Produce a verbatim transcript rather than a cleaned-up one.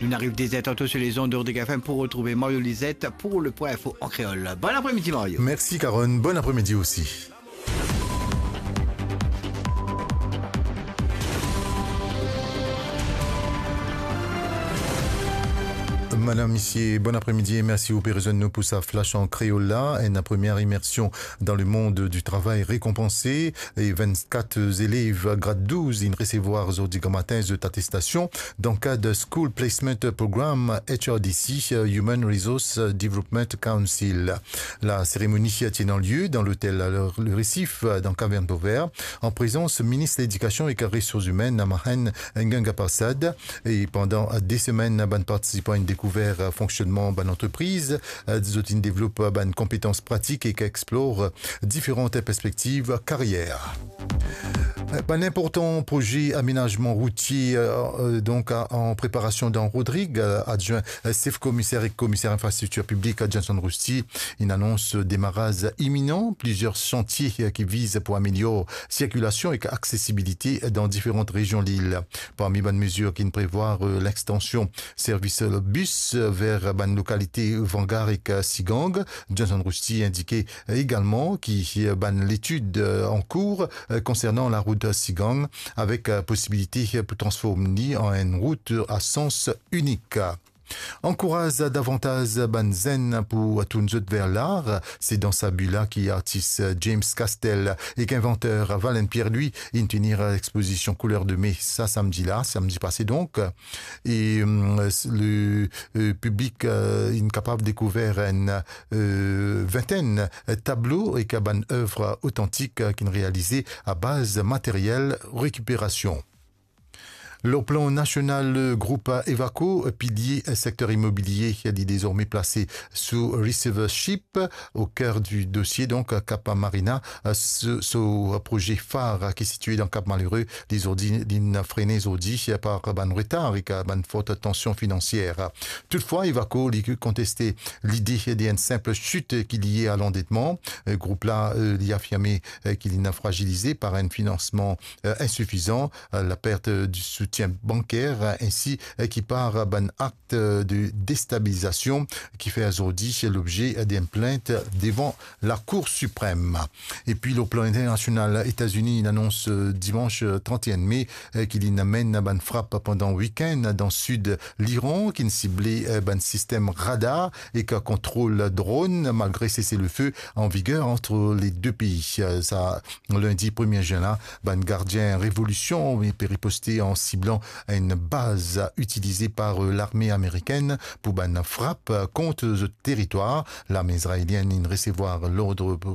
Nou ariv de zer tanto sur les ondes de Rodrigue F M pour retrouver Mario Lisette pour le point info en créole. Bon après-midi, Mario. Merci, Karen. Bon après-midi aussi. Madam, misie, bon apremidi e mersi ou pe rezwenn nou pou sa Flash an Kreol la. Enn premie imersion dan lemond di travay rekonpanse e vennkat zelev grad douz inn resevwar zordi gramatin zot atestasion dan kad School Placement Program, H R D C, Human Resource Development Council. La seremoni ti ena lie dan lotel Le Récif, dan Kavern Vauvert, an prezans Minis Ledikasion ek Resours Imenn, Mahen Ganga Prasad. E pandan de semenn, bann partisipan inn dekouver fonksionnman bann antrepriz, zot inn devlop bann konpetans pratik ek explor diferan perspektiv karyer. Bann inportan proze amenazman routie, euh, euh, donk, a, an preparasion dan Rodrig, euh, adwin, euh, sef komiser ek komiser infrastriktir piblik, Johnson Rusty, inn anons demaraz iminan plizier santie, euh, ki viz pou amelior sirkilasion ek aksesibilite dan diferan rezion lil. Parmi bann mezir ki'nn prevwar, euh, lextansion servis bis, euh, ver bann lokalite Vangar ek, euh, Sigang. Johnson Rusty indike egalman ki, euh, bann letid, euh, an kour, euh, konsernan larout Sigang, avek, euh, posibilite, euh, pou transform li an enn rout a sans inik. Ankouraz davantaz bann zenn pou tourn zot ver lar, se dan sa bi la ki artis James Castel ek invanter Valen Pierre-Louis inn tenir lexpozision Couleurs de mai sa samdi la, samdi pase donk. E, hum, le, euh, piblik, euh, inn kapav dekouver enn, euh, vintenn tablo ek bann ev otantik, euh, ki'nn realize a baz materyel rekiperasion. Lor plan nasional, group Evaco, pilie sekter imobilie, li dezorme plase sou receivership, o ker di dosie, donk, Cap Marina, so, so proze far ki sitiye dan Cap Malheureux, li zordi, li'nn frene zordi par bann retar ek bann fort tansion finansier. Toutfwa, Evaco, li konteste lide de enn sinp sit ki lie a landetman. Group la, euh, li afirme, euh, ki li'nn fragilize par enn finansman, euh, insifizan, euh, lapert, euh, di soutien banker, euh, ensi, euh, ki par bann akt, euh, de destabilizasion ki fer zordi lobze d'enn plint devan Lakour Siprem. Epi, lor plan internasional, Etazini inn anons, euh, dimanch, euh, trant-e-enn me, euh, ki li'nn amenn bann frap pandan wikenn dan sid Liran, ki'nn sible, euh, bann sistem radar ek kontrol dronn, malgre sese-le-feu an viger ant le de pei. Euh, sa, lindi premie zin la, bann gardien revolision pe riposte an siblan enn baz itilize par, euh, larme amerikenn pou bann frap, euh, kont zot teritwar. Larme izraelienn inn resevwar lord pou